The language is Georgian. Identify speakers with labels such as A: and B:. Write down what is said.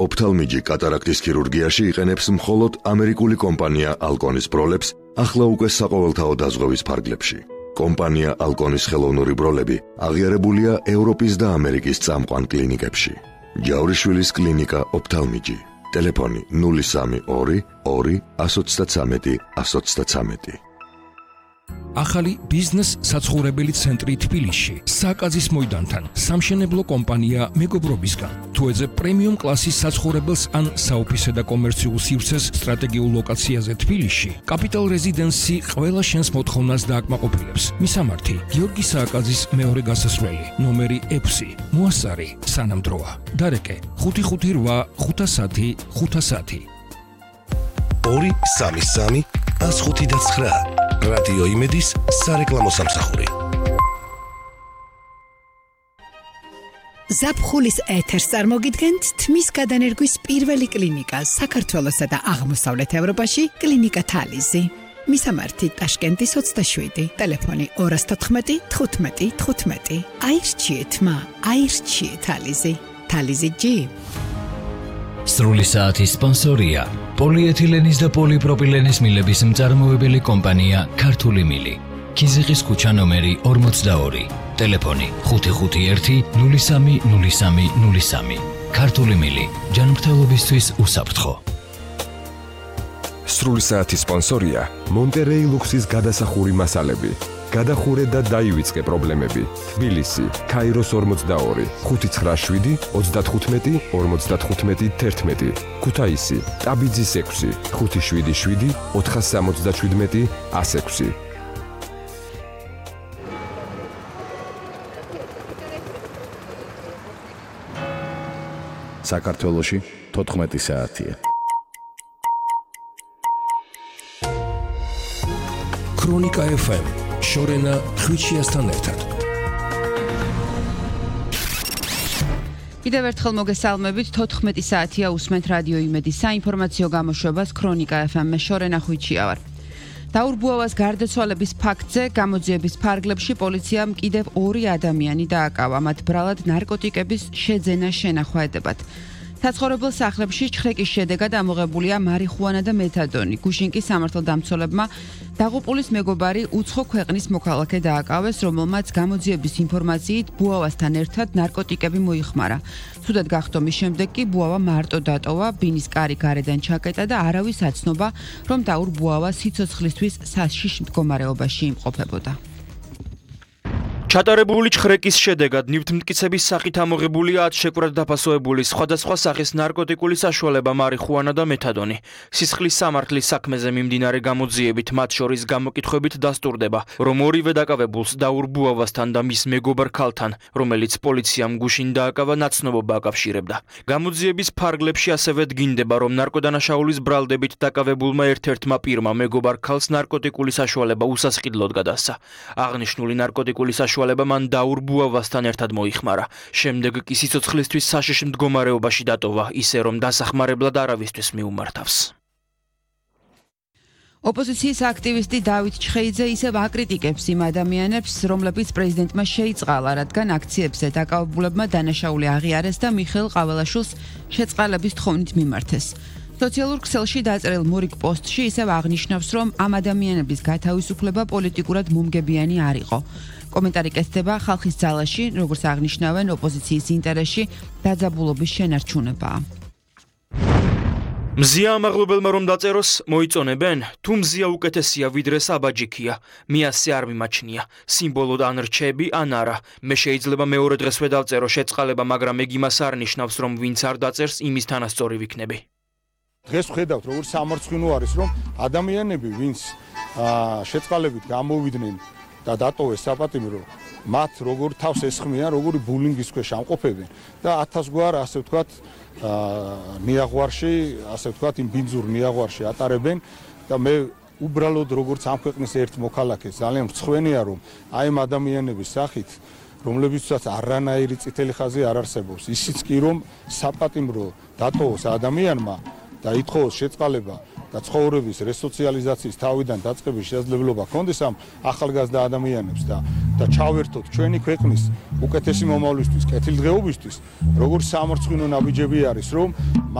A: ოფთალმიჯი კატარაქტის ქირურგიაში იყენებს მხოლოდ ამერიკული კომპანია ალკონის ბროლებს, ახლა უკვე საყოველთაო დაზღვევის ფარგლებში. კომპანია ალკონის ხელოვნური ბროლები აღიარებულია ევროპის და ამერიკის წამყვან კლინიკებში. ჯავრიშვილის კლინიკა ოფთალმიჯი. ტელეფონი 032 2 133 133.
B: ახალი ბიზნეს საცხოვრებელი ცენტრი თბილისში, საკაზის მოედანთან, სამშენებლო კომპანია მეგობრობისგან. თუ ეძებ პრემიუმ კლასის საცხოვრებელს ან საოფისე და კომერციულ სივრცეს სტრატეგიულ ლოკაციაზე თბილისში, კაპიტალ რეზიდენსი ყველა შენს მოთხოვნას დააკმაყოფილებს. მისამართი: გიორგი სააკაძის მეორე გასასვლელი, ნომერი 6, მოასარი, სანამდროა. დარეკე: 558 510 510.
C: 233 159. რადიო იმედის სარეკლამო სამსახური.
D: ზაფხულის ეთერს წარმოგიდგენთ თმის გადანერგვის პირველი კლინიკა საქართველოსა და აღმოსავლეთ ევროპაში, კლინიკა თალიზი. მისამართი: ტაშკენტის 27, ტელეფონი 214 15 15. აირჩიეთ თალიზი. თალიზი ჯი.
E: სრული საათის სპონსორია პოლიეთილენის და პოლიპროპილენის მილების მწარმოებელი კომპანია ქართული მილი. ქიზიყის ქუჩა ნომერი 42, ტელეფონი 551 03 03 03. ქართული მილი, ჯანმრთელობისთვის უსაფრთხო.
F: სრული საათის სპონსორია მონტერეი ლუქსის გადასახური მასალები. გადახურე და დაივიწყე პრობლემები. თბილისი, ქაიროს 42, 597 35 55 11. ქუთაისი, ტაბიძის 6, 577 477 106.
G: საქართველოში 14 საათია.
B: ქრონიკა FM, შორენა ხვიჩიასთან ერთად.
H: კიდევ ერთხელ მოგესალმებით, 14 საათია უსმენთ რადიო იმედის საინფორმაციო გამოშვებას ქრონიკა FM-ზე, შორენა ხვიჩია ვარ. დაურბუავას გარდაცვალების ფაქტზე გამოძიების ფარგლებში პოლიციამ კიდევ 2 ადამიანი დააკავა, მათ ბრალად ნარკოტიკების შეძენა შენახვა ედებათ. საცხოვრებელ სახლებში ჩხრეკის შედეგად ამოღებულია მარიხუანა და მეთადონი. გუშინკის სამართალდამცველებმა დაღუპულის მეგობარი უცხო ქვეყნის მოქალაქე დააკავეს, რომელმაც გამოძიების ინფორმაციით ბუავასთან ერთად ნარკოტიკები მოიხმარა. ცუდად გახდომის შემდეგ კი ბუავა მარტო დატოვა, ბინის კარი გარედან ჩაკეტა და არავის აცნობა, რომ დაურბუავა სიცოცხლისთვის საშიშ მდგომარეობაში იმყოფებოდა.
I: ჩატარებული ჩხრეკის შედეგად ნივთმტკიცების სახით ამოღებულია 10 შეკვრად დაფასოებული სხვადასხვა სახის ნარკოტიკული საშუალება მარიხუანა და მეთადონი. სისხლის სამართლის საქმეზე მიმდინარე გამოძიებით მათ შორის გამოკითხვებით დასტურდება, რომ ორივე დაკავებულს დაურბუავასთან და მის მეგობარ ქალთან, რომელიც პოლიციამ გუშინ დააკავა, ნაცნობობა აკავშირებდა. გამოძიების ფარგლებში ასევე დგინდება, რომ ნარკოდანაშაულის ბრალდებით დაკავებულმა ერთ-ერთმა პირმა მეგობარ ქალს ნარკოტიკული საშუალება უსასყიდლოდ გადასცა. აღნიშნული ნარკოტიკული საშუალება მან დაურბუავასთან ერთად მოიხმარა. შემდეგ კი სიცოცხლისთვის საშიშ მდგომარეობაში დატოვა, ისე რომ დასახმარებლად არავისთვის მიუმართავს.
H: ოპოზიციის აქტივისტი დავით ჩხეიძე ისევ აკრიტიკებს იმ ადამიანებს, რომლებიც პრეზიდენტმა შეიწყალა, რადგან აქციებზე დაკავებულებმა დანაშაული აღიარეს და მიხეილ ყაველაშვილს შეწყალების თხოვნით მიმართეს. სოციალურ ქსელში დაწერილ მორიგ პოსტში ისევ აღნიშნავს, რომ ამ ადამიანების გათავისუფლება პოლიტიკურად მომგებიანი არ იყო. კომენტარი კეთდება ხალხის ძალაში, როგორც აღნიშნავენ, ოპოზიციის ინტერესში დაძაბულობის შენარჩუნებაა.
I: მზია ამაღლობელმა რომ დაწეროს, მოიწონებენ? თუ მზია უკეთესია ვიდრე საბაჯიქია, მე ასე არ მიმაჩნია. სიმბოლოდ ან რჩები, ან არა. მე შეიძლება მეორე დღესვე დავწერო შეწყალება, მაგრამ ეგ იმას არ ნიშნავს, რომ ვინც არ დაწერს, იმის თანასწორი ვიქნები.
J: დღეს ვხედავთ, როგორ სამარცხვინო არის, რომ ადამიანები, ვინც შეწყალებით გამოვიდნენ და დატოვეს საპატიმრო, მათ როგორ თავს ესხმიან, როგორი ბულინგის ქვეშ ამყოფებენ და 1000 გვარ, ასე ვთქვათ, ნიაღვარში, ასე ვთქვათ, იმ ბინძურ ნიაღვარში ატარებენ და მე უბრალოდ როგორც ამ ქვეყნის ერთ მოქალაქეს ძალიან მრცხვენია, რომ აი ამ ადამიანების სახით, რომლებიცაც არანაირი წითელი ხაზი არ არსებობს, ისიც კი რომ საპატიმრო დატოვოს ადამიანმა და ითხოვოს შეწყალება და ცხოვრების რესოციალიზაციის თავიდან დაწყების შესაძლებლობა ჰქონდეს ამ ახალგაზრდა ადამიანებს და და ჩავერთოთ ჩვენი ქვეყნის უკეთესი მომავლისთვის, კეთილდღეობისთვის, როგორ სამარცხვინო ნაბიჯები არის, რომ